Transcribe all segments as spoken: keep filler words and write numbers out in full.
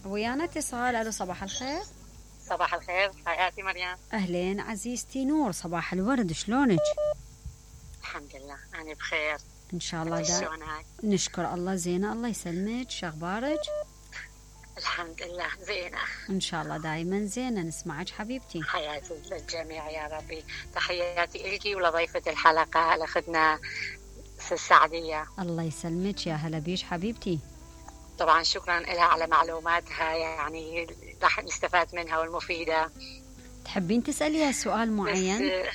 ويانا اتصال. الو صباح الخير. صباح الخير حياتي مريم. اهلين عزيزتي نور، صباح الورد، شلونك؟ الحمد لله انا بخير ان شاء الله. دا نشكر الله. زينه الله يسلمك، شو اخبارك؟ الحمد لله زينه ان شاء الله دائما زينه. نسمعك حبيبتي. حياتي للجميع يا ربي. تحياتي لك ولضيفه الحلقه لاخذنا السعديه. الله يسلمك، يا هلا بيش حبيبتي. طبعا شكرا لها على معلوماتها، يعني راح نستفاد منها والمفيده. تحبين تساليها سؤال معين؟ ايه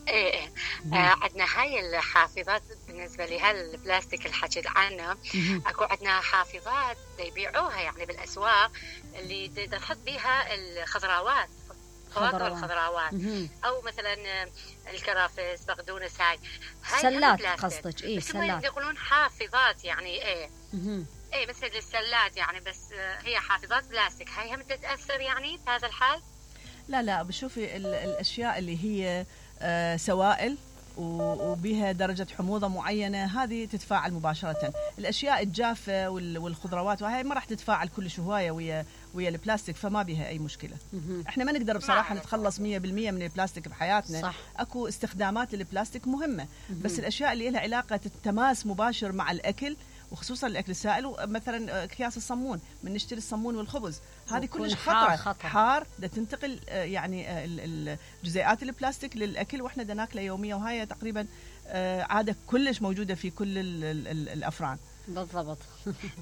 ايه آه عندنا هاي الحافظات بالنسبه لها البلاستيك اللي حكيت عنها. اكو عندنا حافظات يبيعوها يعني بالاسواق اللي تحط بيها الخضروات، فواكه الخضروات، او مثلا الكرافس، بقدونس، هاي هاي سلات قصدك؟ ايه سلات يقولون حافظات يعني ايه ايه مثل السلات يعني، بس هي حافظات بلاستيك. هاي هم تتاثر يعني في هذا الحال؟ لا لا، بشوفي الاشياء اللي هي آه سوائل وبها درجة حموضة معينة هذه تتفاعل مباشرة. الأشياء الجافة والخضروات وهي ما راح تتفاعل كل هواية ويا ويا البلاستيك، فما بها أي مشكلة. إحنا ما نقدر بصراحة نتخلص مية بالمية من البلاستيك بحياتنا. صح. أكو استخدامات للبلاستيك مهمة، بس الأشياء اللي لها علاقة التماس مباشر مع الأكل وخصوصا الأكل السائل، مثلا أكياس الصمون، من نشتري الصمون والخبز، هذه كلش خطرة. خطر. حار ده تنتقل يعني جزيئات البلاستيك للأكل وإحنا دا ناكله يوميا، وهي تقريبا عادة كلش موجودة في كل ال ال ال الأفران. بالضبط.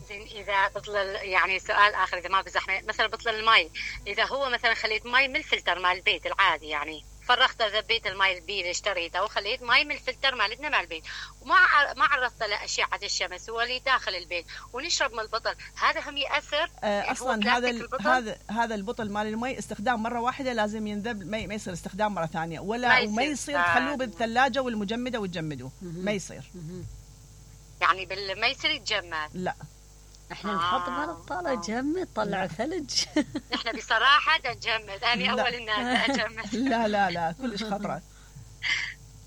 زين إذا بطل يعني سؤال آخر، إذا ما بزحمة مثلا بطل المي، إذا هو مثلا خليت مي من الفلتر مال البيت العادي، يعني فرغت ذبيت المي البي اللي اشتريته وخليت مي من الفلتر مالتنا مع البيت، وما ما عرضت له أشعة الشمس واللي داخل البيت ونشرب من البطل، هذا هم يأثر؟ آه أصلا هذا هذا هذا البطل مال المي استخدام مرة واحدة، لازم ينذب، ما, ما يصير استخدام مرة ثانية، ولا ما وما يصير تخلوه بالثلاجة والمجمدة وتجمدوه، ما يصير. يعني بال ما يصير يتجمد. لا احنا نحط بطاله جمد طلع ثلج. احنا بصراحه نجمد، انا اول الناس اجمد. لا لا لا كلش خطره.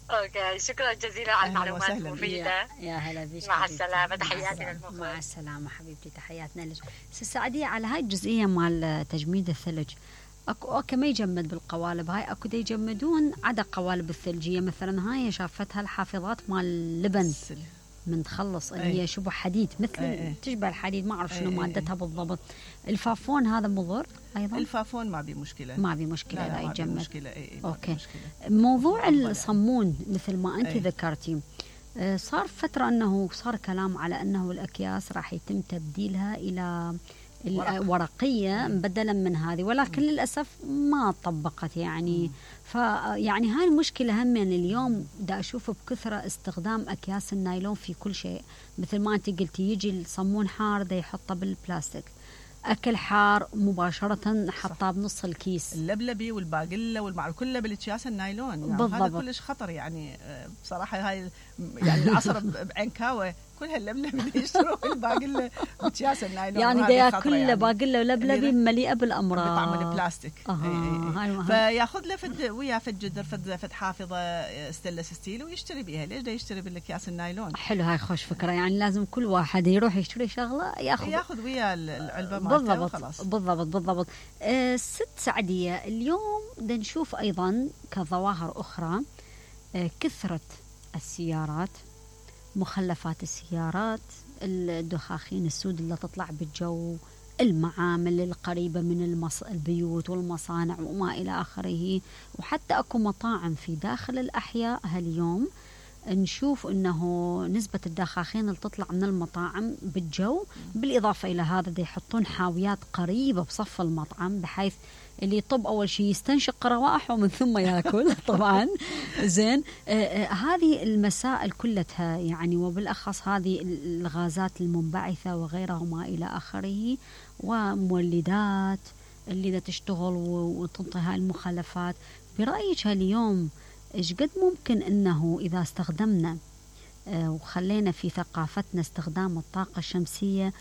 اوكي شكرا جزيلا على المعلومات المفيده. يا هلا بيك. مع السلامه، تحياتي للمخرج. مع السلامه حبيبتي، تحياتنا لك. سعديه على هاي الجزئيه مال تجميد الثلج. اكو اوكي ما يجمد بالقوالب هاي، اكو دا يجمدون عدا قوالب الثلجيه، مثلا هاي شافتها الحافظات مال اللبن من تخلص اللي هي شبه حديد، مثل أي. تشبه الحديد، ما اعرف شنو مادتها بالضبط. الفافون هذا مضر ايضا؟ الفافون ما بي مشكله، ما بي مشكله اذا يتجمد. مشكله اي اي اوكي. مشكلة. موضوع الصمون مثل ما انت ذكرتي، صار فتره انه صار كلام على انه الاكياس راح يتم تبديلها الى الورقيه بدلا من هذه، ولكن للاسف ما طبقت يعني. فيعني هاي المشكله هم يعني اليوم دا اشوف بكثره استخدام اكياس النايلون في كل شيء، مثل ما انت قلتي يجي الصمون حار دا يحطه بالبلاستيك، اكل حار مباشره حطاه بنص الكيس، اللبلبي والباقله والمعروف كله بالاكياس النايلون يعني. بالضبط. هذا كلش خطر يعني بصراحه. هاي يعني العصر بعكاوه كلها اللبلبي يشتروا الباقله باكياس النايلون، يعني دا ياكل يعني. باقله ولبلبي مليئه بالامراض بطعم البلاستيك. آه. فياخذ له فد ويا فد جدر فد فد حافظه ستانلس ستيل ويشتري بيها. ليش دا يشتري بالاكياس النايلون؟ حلو، هاي خوش فكره. يعني لازم كل واحد يروح يشتري شغله ياخذ ياخذ ويا العلبه مالته وخلاص. بالضبط بالضبط. آه ست سعديه، اليوم دا نشوف ايضا كظواهر اخرى آه كثره السيارات، مخلفات السيارات، الدخاخين السود اللي تطلع بالجو، المعامل القريبة من المص... البيوت والمصانع وما إلى آخره، وحتى أكو مطاعم في داخل الأحياء هاليوم نشوف أنه نسبة الدخاخين اللي تطلع من المطاعم بالجو، بالإضافة إلى هذا دي يحطون حاويات قريبة بصف المطعم، بحيث اللي يطب أول شيء يستنشق روائحه ومن ثم يأكل طبعا. زين. آه آه هذه المسائل كلها يعني، وبالأخص هذه الغازات المنبعثة وغيرها وما إلى آخره، ومولدات اللي دا تشتغل وتنطي هاي المخلفات. برأيك اليوم إيش قد ممكن أنه إذا استخدمنا آه وخلينا في ثقافتنا استخدام الطاقة الشمسية